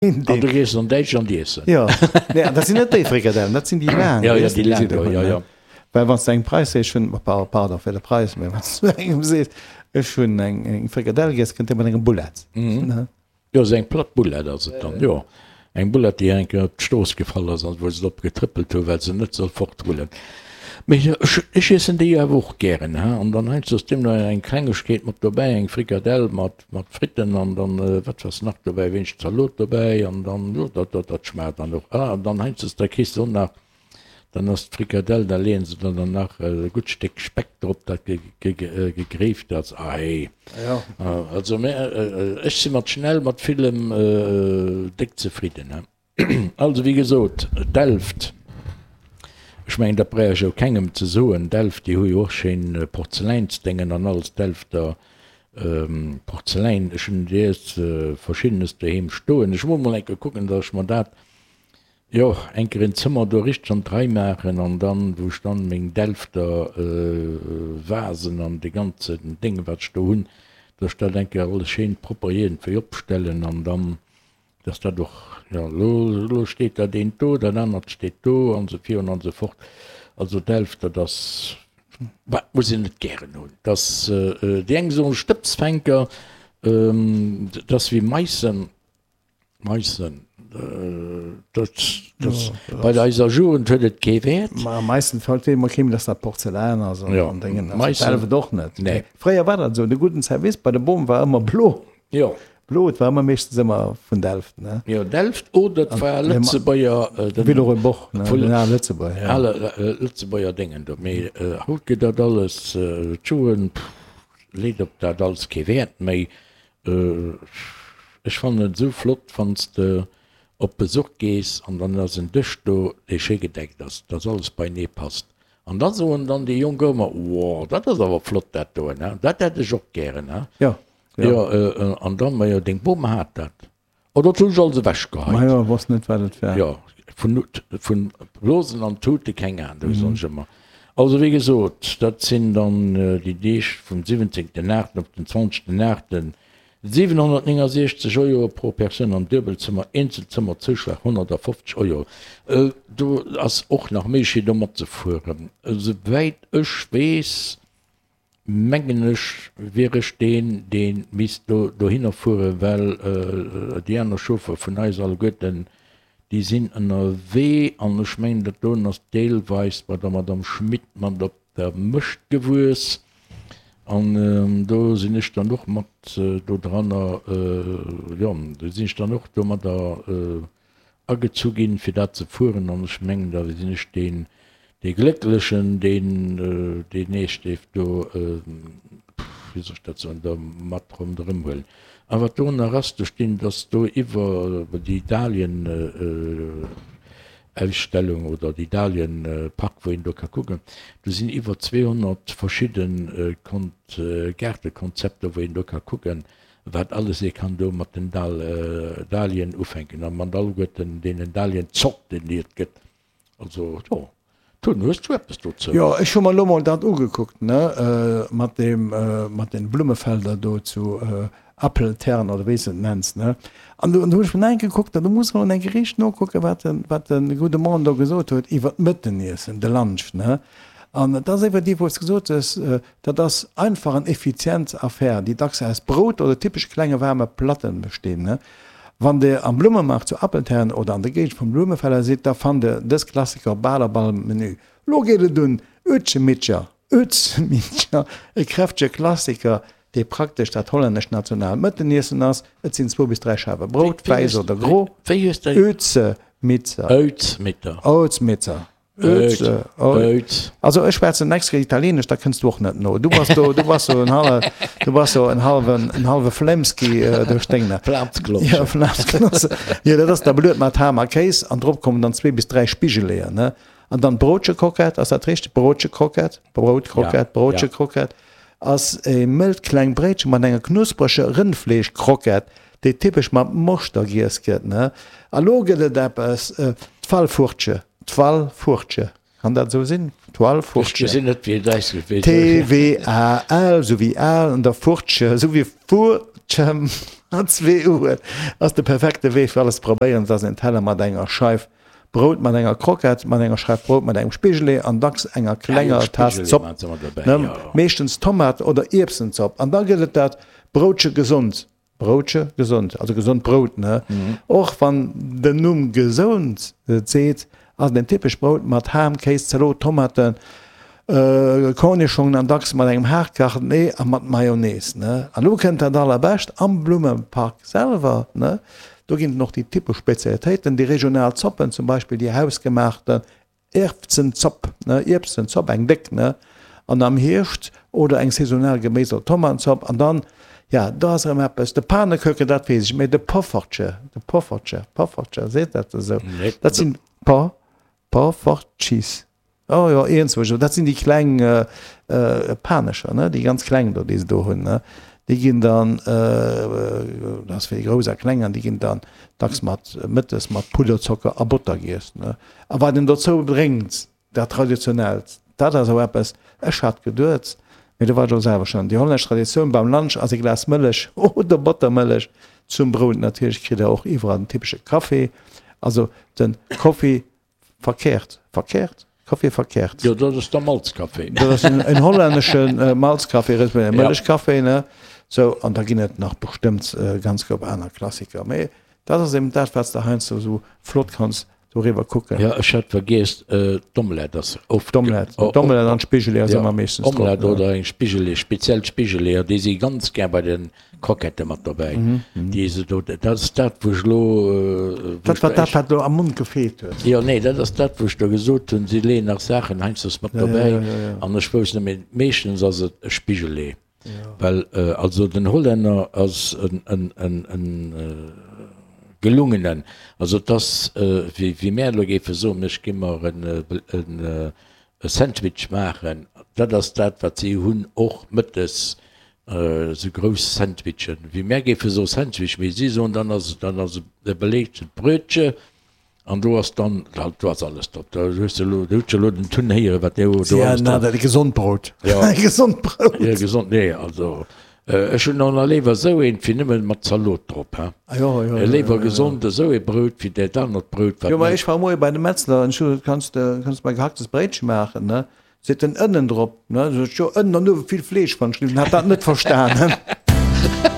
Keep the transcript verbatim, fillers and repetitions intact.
An du gees an Däitschland iessen. Jo, nee, dat sinn net déi Frikadellen, dat sinn déi laang. Jo, jo, déi laang do, jo, jo. Well wann s de engem Preis sees, ech hunn, pardon fir de Preis, mä wann s du engem sees, ech hunn eng eng Frikadell giess, kënnt dee mat engem Bullett. Jo, esou eng platt Bullett ass et dann, jo. Eng Bullett, déi eng Kéier op d'Strooss gefall ass an wou se drop getrëppelt hu well se net soll fortrullen. Mee ech, ech iessen déi awer och gären, he. An dann heiansdo ass deemno eng Klengegkeet mat dobäi, eng Frikadell mat, mat Fritten an dann, wat ass nach dobäi, wéineg Zalot dobäi an dann, jo, dat, dat, dat schmaacht dann och. Ah, an dann heiansdo da kriss de och nach, dann ass d'Frikadell, da leeën se der dann nach e gutt Stéck Speck drop, dat ge, ge, gegréift ass. Ah, hey. Also mä ech si mat schnell mat villem déck zefridden, he. Also wéi gesot, Delft, ech mengen dat bräuch ech jo kengem ze soen, Delft déi hu jo och schéin Porzeläinsdéngen an alles, Delfter Porzeläin, ech hunn dees verschiddenes doheem stoen. Ech muss mol eng Kéier kucken, datt ech mer dat, jo, eng Kéier en Zëmmer do richteg an d'Rei maachen an dann, wou ech dann meng Delfter Vasen an dee ganzen Déng wat ech do hunn, datt ech dat eng Kéier alles schéin propper iergendwéi opstellen an dann Dass dat och, jo, elo, elo steet dat eent do, dat anert steet do an esou virun an esou fort. Also Delft, dat ass, bah, muss een net gären hunn. Dass, déi eng soen Stëbsfänker, dat ass wéi Meissen, Meissen, dat, dat, bei eiser Jugend huet et kee Wäert. Ma Meissen fällt wéi emol kee méi, dass dat Porzellan ass an Déngen. Meissen. Delft och net. Nee. Fréier war dat esou, de gudden Service bei de Bom war ëmmer blo. Jo. Blo, et war ëmmer meeschtens ëmmer vun Delft, ne? Jo, Delft oder et war Lëtzebuerger, den Villeroy Boch, ne? Den ale Lëtzebuerger, ja. Ale Lëtzebuerger Déngen do. Mee haut gëtt dat alles, d'Jugend, pff, leet op dat alles kee Wäert méi. Ech fannen et esou flott, wann s de op Besuch gees an dann ass en Dësch do, dee schéi gedeckt ass, dass alles beienee passt. An da soen dann déi Jonk ëmmer, Wow, dat ass awer flott dat doen, he? Dat hätt ech och gären, he? Jo. Jo, an dann, majo, deng Bom hat dat. Oh, dat hunn ech alles ewechgeheit. Majo, wosst net, wat et war. Jo, vun, vun Blosen an Tute, keng Ahnung, soen ech ëmmer. Also, wéi gesot, dat sinn dann déi Deeg vum siwwenzéngten aachten op den zwanzegten aachten. siwenhonnertnéngasiechzeg Euro pro Persoun am Duebelzëmmer, Eenzelzëmmer Zouschlag honnertafofzeg Euro. Do ass och nach Méiglechkeet do matzefueren. Esouwäit ech weess, Mengen ech, wier ech deen, dee misst do dohinner fueren, well déi aner Chauffer vun eis alleguerten, déi sinn ënnerwee. An ech mengen, dat doen ass deelweis bei der Madame Schmit mat op der Mëscht gewuess. An do sinn ech dann och mat do dranner, jo, do sinn ech dann och domadder agezu ginn, fir dat ze fueren. An ech mengen, da sinn ech deen, dee Glécklechen, deen deen Eescht dierf do, wéi soll ech dat soen, do mat ronderëm huelen. A wat do nach ass, do stinn, dass do iwwer déi Dahlien-Ausstellung oder déi Dahlien-Park, wou een do ka kucken, do sinn iwwer zweehonnert verschidde Gaartekonzepter, wou een do ka kucken, wat alles ee kann do mat den Dahlien ufänken a mat alleguerten deenen Dahlien-Zorten, déi et gëtt. Also, jo. Tun, hues du eppes dozou? Jo, ech hu mer elo mol dat ugekuckt, ne, mat deem, mat den Blummefelder do zu Appeltern oder wéi s de et nenns, ne. An do hu ech mol eng Kéier gekuckt, an do muss mer eng Kéier richteg nokucken, wat den, wat de gudde Mann do gesot huet iwwert d'Mëtteniessen, de Lunch, ne. An et ass iwwer déi, wou s de gesot hues, dat ass einfach an effizient Affär, déi dacks aus Brout oder typesch klenge waarme Platten bestinn. Wann Dir am Blummemaart zu Appeltern oder an der Géigend vum Blumefeller sidd, da fannt Dir dës Klassiker op bal op all Menü. Lo geet et un Uetschemittcher, Uetschemittcher, e kräftege Klassiker, dee praktesch dat hollännescht nationaalt Mëtteniessen ass. Et sinn zwou bis dräi Scheiwe Brout, wäiss oder gro, Uetschemittcher, Uetschemittcher. Also ech schwätzen extra Italienesch, da kënns du och net no. Du bass do, du bass so en halle, du bass so en halwen, en halwe Flemski äh, duerch deng. Flamsklosse. Ja, Flamsklosse. Ja, dat ass da bluet mat Ham a Kéis an drop kommen dann zwee bis dräi Spigeleeër, ne? An dann d'Brotchekroquette, ass dat richteg? Brotchekroquette, Brotkrokett, Ja, ja. Brotchekroquette ass e mëllt kleng Bréitche mat enger knuspreger Rëndfleeschkroquette, déi typesch mat Moschter giess gëtt, ne? A lo gëtt et eppes, d'Fallfurtche. D'Walfurtche, kann dat esou sinn? D'Walfurtche. Ech gesinn net wéi et ausgeschriwwen T-W-A-L, esou wéi al, an da Furtche, esou wéi Furtche. An zwee Uen ass de perfekte Wee fir alles ze probéieren. Et ass en Teller mat enger Scheif Brout, mat enger Croquette, mat enger Scheif Brout, mat engem Spigelee an dacks enger klenger Taass Zopp, ne, meeschtens Tomat oder Ierbsenzopp. An da gëtt et dat Broutche gesond, Broutche gesond, also gesond Brout, ne? Och wann den Numm gesond et seet, ass et en typescht Brout mat Ham, Kéis, Zalot, Tomaten, Kornischongen an dacks mat engem haart gekachten Ee a mat Mayonnaise, ne? An elo kënnt dat allerbescht, am Blummepark selwer, ne, do ginn et och déi typesch Spezialitéiten, déi regional Zoppen, zum Beispill déi hausgemaachten Ierfzenzopp, ne, Ierbsenzopp, eng déck, ne, an am Hierscht oder eng saisonal Geméis oder Tomatenzopp. An dann, ja, do ass erëm eppes, de Panekeuken, dat weess ech, mä de Poffertje, de Poffertje, Poffertje, seet dat esou? Dat sinn Po, Poffertjes. Oh jo, iergendzwousch. Dat sinn déi kleng Panescher, ne? Déi ganz kleng do, déi se do hunn, ne? Déi ginn dann, dat ass fir déi Grouss a Kleng, an déi ginn dann dacks mat mëttes mat Pudderzocker a Botter giess, ne? A wat een dozou drénkt, dat Traditionellt, dat ass och eppes, ech hat geduet, mee do war ech och selwer schonn, déi hollännesch Traditioun beim Lunch ass e Glas Mëllech oder Bottermëllech zum Brout. Natierlech kritt der och iwwerall den typesche Café, also de Koffi Verkehrt, verkehrt, Kaffee verkehrt. Jo, dat ass der Malzkaffee. Dat ass en, en hollännesche Malzkaffee, respektiv e Mëllechkaffee, ne? Sou, an da ginn et nach bestëmmt ganz koup aner Klassiker. Mee dat ass eben dat, wat s de heiansdo esou flott kanns doriwwer kucken. Jo, ech hat vergiess, d'Omelette ass oft. D'Omelette, d'Omelette an d'Spigeleeër si mer meeschtens drop. Omelette oder eng Spigeleeër, speziell d'Spigeleeër, déi si ganz gär bei den Croquette mat dobäi, déi se do, dat ass dat wou ech elo, wou Dat war dat wat elo am Mond gefeelt huet. Jo, nee, dat ass dat wou ech do gesot hunn, si leeën nach Saachen heiansdo mat dobäi an ech wousst net méi, meeschtens ass et e Spigelee, well also den Hollänner ass en, en, en, en gelungenen, also et ass wéi, wéi mär elo géife soen, ech gi mer en, en e Sandwich maachen, dat ass dat wat si hunn och mëttes, esou grouss Sandwichen, wéi mär géife soe Sandwich, mee si soen dann ass et dann ass e beleegtent Brötche an do ass dann, do ass alles drop, do hues de elo, do hutt elo den Tun héieren, wat do do alles drop ass. Gesond Brout, gesond Brout. Jo, gesond, nee, also ech hunn och nach léiwer esou eent wéi nëmme mat Zalot drop, he. Léiwer gesond esou ee Brout wéi dat anert Brout, wat. Jo, ma ech war moie bei de Metzler an ech hu gesot, kanns de, kanns de mer gehacktes Bréitche maachen, ne? Seet en, Ënnen drop, ne? Sot ech, jo, Ënnen an uewe vill Fleesch, wann ech liwwen. Hat dat net verstanen.